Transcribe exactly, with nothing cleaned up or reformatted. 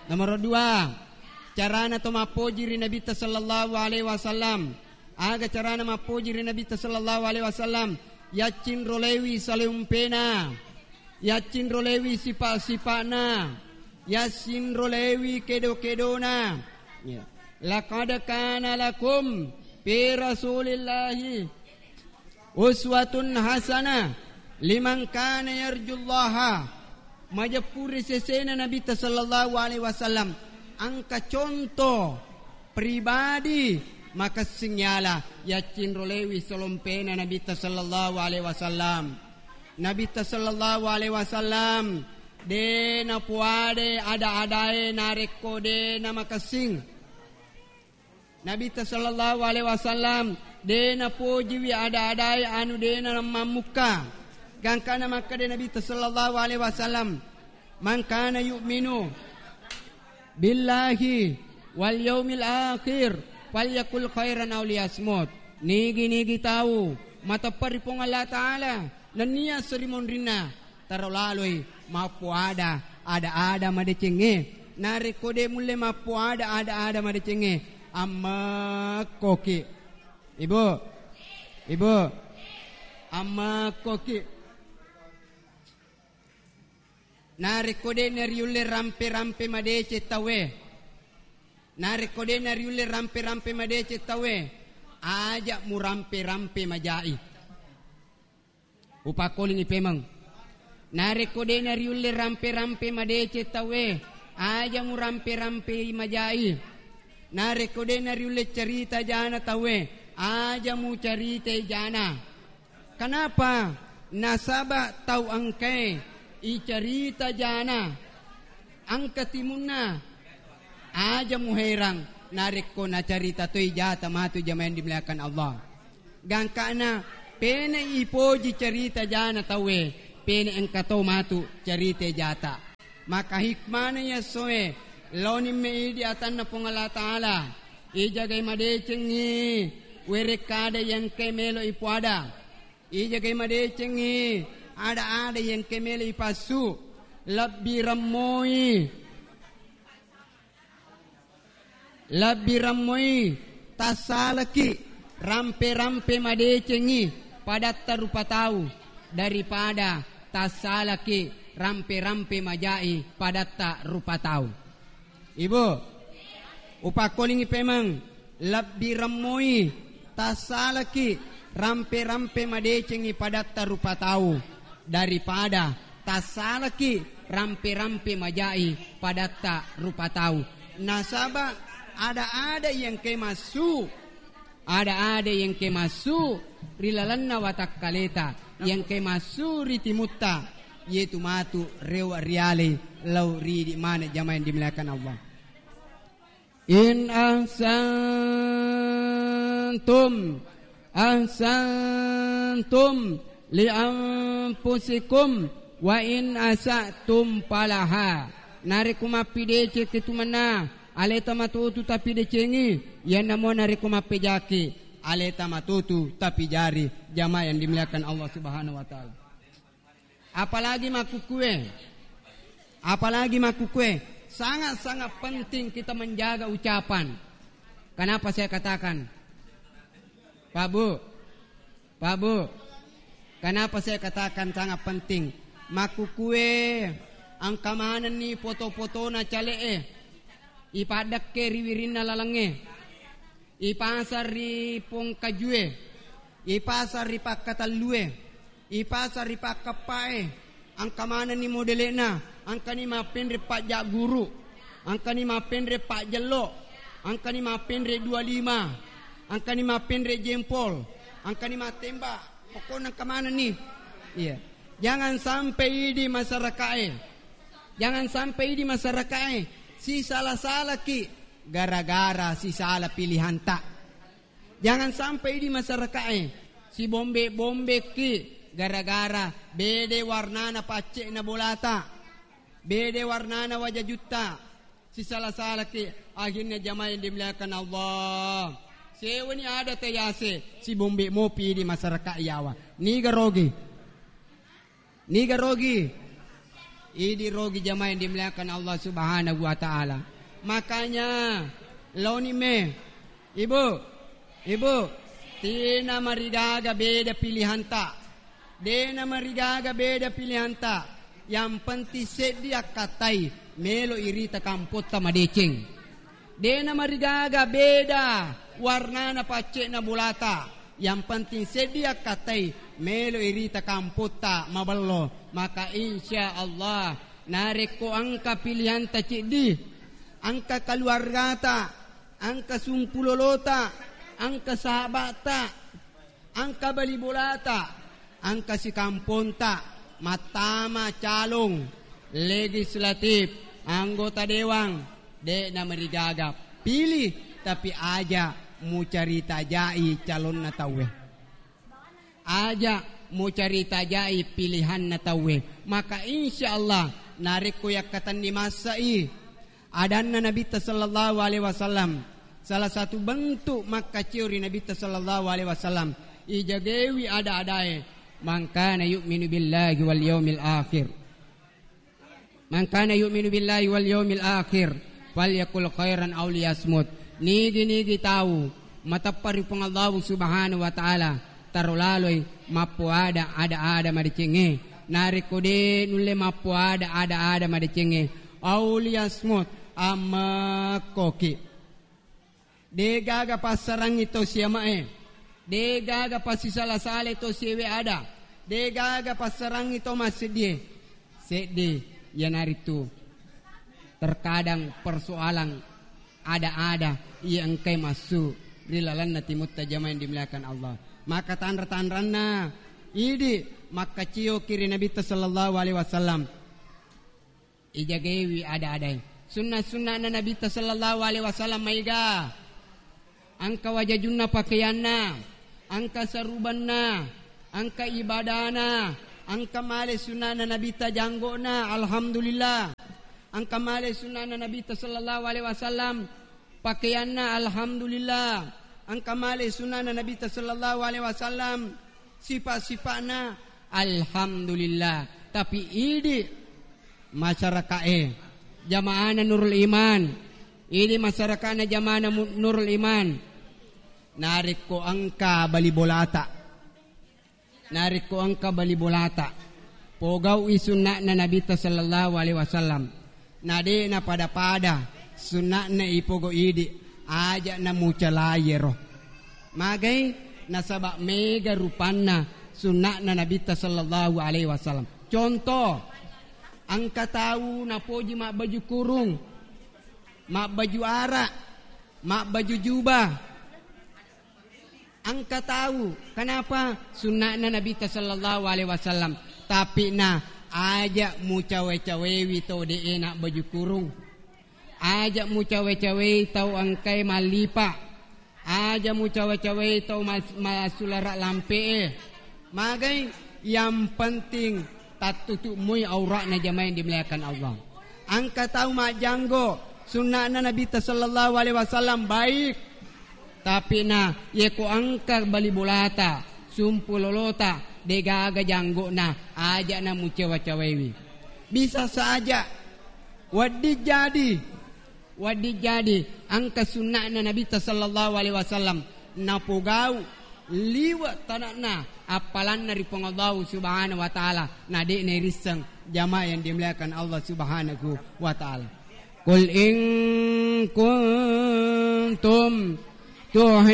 Nomoro dua, carana to mappoji ri Nabitta sallallahu alaihi wasallam. Aga carana mappoji ri Nabitta sallallahu alaihi wasallam? Yaccinrolewi saleompena, yaccinrolewi sipa-sipa'na, yaccinrolewi kedo-kedona. Ya. Laqad kana lakum fi Rasulillahi uswatun hasanah liman kana yarjullaha. Majeppu ri sesena Nabitta sallallahu alaihi wasallam engka contoh pribadi makessing yala yaccinrolewi salompena Nabitta sallallahu alaihi wasallam. Nabitta sallallahu alaihi wasallam de napoade ada-adae narekko de namakessing. Nabitta sallallahu alaihi wasallam de napojiwi ada-adae anu de namammukka. Gangkana makkeda Nabitta sallallahu alaihi wasallam, "Man kana yu'minu billahi wal yaumil akhir falyakul khairan aw liyasmut." Nigi-nigi tau mateppa ri Puang Allah Ta'ala nennia seri monrinna, taro laloi mappoada ada-ada madecengnge. Narekko de mulle mappoada ada-ada madecengnge, ammekkoki. Ibu, ibu, ammekkoki. Narekko de nariulle rampe-rampe madeceng tauwe, narekko de nariulle rampe-rampe madeceng tauwe, aja murampe-rampe majai. Upakkolingi pemeng. Narekko de nariulle rampe-rampe madeceng tauwe, aja murampe-rampei majai. Narekko de nariulle carita jana tauwe, aja mucaritai jana. Kenapa? Nasaba tau engkae icarita jana, engka timunna. Aja muherang narekko nacarita toi jata matu jamaah yang dimuliakan Allah. Gangkana pene ipoji carita jana tauwe, pene engka to matu carita jata. Maka hikmana yassoe, laonimme idi atanna Puang Allah Ta'ala. Ijagai madecengngi werekkada yengke melo ipoada. Ijagai madecengngi ada-ada yengke melo ipassu. Lebbi remmoi. Lebbi remmoi tassalaki rampe-rampe madecengngi padatta rupa tau daripada tassalaki rampe-rampe majai padatta rupa tau. Ibu, upakkolingi pemeng, lebbi remmoi tassalaki rampe-rampe madecengngi padatta rupa tau daripada tassalaki rampe-rampe majai padatta rupa tau. Nasaba ada-ada yengke massu, ada-ada yengke massu ri lalenna watakkaleta, yengke massu ri timutta, yetu matu rewa rialei lao ridi maneng jamaah yang dimuliakan Allah. In ahsantum, ahsantum li anfusikum wa in asa'tum falaha. Narekko mappidecekki tu mennang, aleta matotu tapidecengi, iyanamo narekko mappejaki, aleta matotu tapijari. Jamaah yang dimuliakan Allah Subhanahu wa Ta'ala. Apalagi makkukue, apalagi makkukue, sangat-sangat penting kita menjaga ucapan. Kenapa saya katakan, Pak Bu, Pak Bu, kenapa saya katakan sangat penting? Makkukue engka manenni foto-fotona cale'e, ipaddekke ri wirinna lalengnge. Ipasang ri pongkajue, ipasang ri pakkatellue, ipasang ri pakkeppae, engka manenni modele'na, engkani mappenre pajjagguru, engkani mappenre pajjello, engkani mappenre dua lima, engkani mappenre jempol, engkani mattembak, pokokna engka manenni. Iya. Jangan sampai idi masyarakae, jangan sampai idi masyarakae sisala-salaki gara-gara sisala pilihanta. Jangan sampai idi masyarakae sibombe-bombeki gara-gara bede warnana pacce'na bolata, bede warnana wajajutta, sisala-salaki, akhirnya jamaah yang dimuliakan Allah. Sewani ada tayase sibombe mopi idi masyarakat yawa. Niga rogi? Niga rogi? Idi rogi jamaah yang dimuliakan Allah Subhanahu wa Ta'ala. Makanya, laoni me, Ibu, Ibu, tina marigaga beda pilihanta. Dena marigaga beda pilihanta. Yang penting seddi akkatai melo irita kampotta madeceng. Dena marigaga beda warnana pacce'na bolata. Yang penting seddi akkatai melo irita kampotta mabello. Maka insya Allah, narekko engka pilihanta ceddi, engka keluargata, engka sumpulolota, engka sahabata, engka bali bolata, engka sikamponta, mattama calon legislatif, anggota dewan, de'na marigaga pilih, tapi aja mucarita jai calonna tauwe. Aja mucarita jai pilihanna tauwe. Maka insya Allah, narekko yakkatenni massai, adanna Nabitta sallallahu alaihi wasallam, salah satu bentuk makkacio ri Nabitta sallallahu alaihi wasallam, ijagewi ada-adae, "Man kana yu'minu billahi wal yaumil akhir, man kana yu'minu billahi wal yaumil akhir, falyakul khairan aw liyasmut." Nigi-nigi tau mateppa ri Puang Allahu Subhanahu wa Ta'ala, taro laloi mappoada ada-ada madecengnge. Narekko de nulle mappoada ada-ada madecengnge, aw liyasmut, ammekkoki. De gaga passarangngi to siamae, de gaga passisala-sala to siawe ada, de gaga passarangngi to masseddie. Seddi, iyanaritu terkadang persoalan ada-ada iya engkai massu ri lalenna timutta jamaah yang dimuliakan Allah. Maka tanra-tanranna idi makkacio ki ri Nabitta sallallahu alaihi wasallam. Ijagewi ada-adae. Sunna-sunnana Nabitta sallallahu alaihi wasallam maega. Engka wajajunna pakeanna, engka sarubanna, engka ibadana, engka male sunnana Nabitta janggo'na, alhamdulillah. Engka male sunnana Nabitta sallallahu alaihi wasallam pakeanna, alhamdulillah. Engka male sunnana Nabitta sallallahu alaihi wasallam sipa-sipa'na, alhamdulillah. Tapi idi masyaraka'e, jamaahna Nurul Iman, idi masyaraka'na jamaahna Mu-, Nurul Iman, narekko engka bali bolata, narekko engka bali bolata, pogau'i sunna'na Nabitta sallallahu alaihi wasallam. Na de napada-pada sunna'na ipogo idi, aja namucalai ero. Magai? Nasaba mega rupanna sunna'na Nabitta sallallahu alaihi wasallam. Contoh, engka tau napoji mabbaju kurung, mabbaju ara, mabbaju jubah. Engka tau, kenapa? Sunna'na Nabitta sallallahu alaihi wasallam. Tapi na aja mucawe-cawewi tau de'e na baju kurung. Aja mucawe-cawei tau engkai mallipa. Aja mucawe-cawei tau mas-, massulara lampe'e. Magai? Yang penting tattutu moi aura'na jamaah yang dimuliakan Allah. Engka tau majjanggo, sunna'na Nabitta sallallahu alaihi wasallam baik. Tapi na, yeko engka bali bolata, sumpulolota, degaga janggo'na, aja na mucawa-cawewi. Bisa saja, wedding jadi, wedding jadi, engka sunna'na Nabitta sallallahu alaihi wasallam, napogau liwe' tana'na appalanna ri Puang Allahu Subhanahu wa Ta'ala, na de' nairisseng jamaah yang dimuliakan Allah Subhanahu wa Ta'ala. Qul in kuntum tuhi-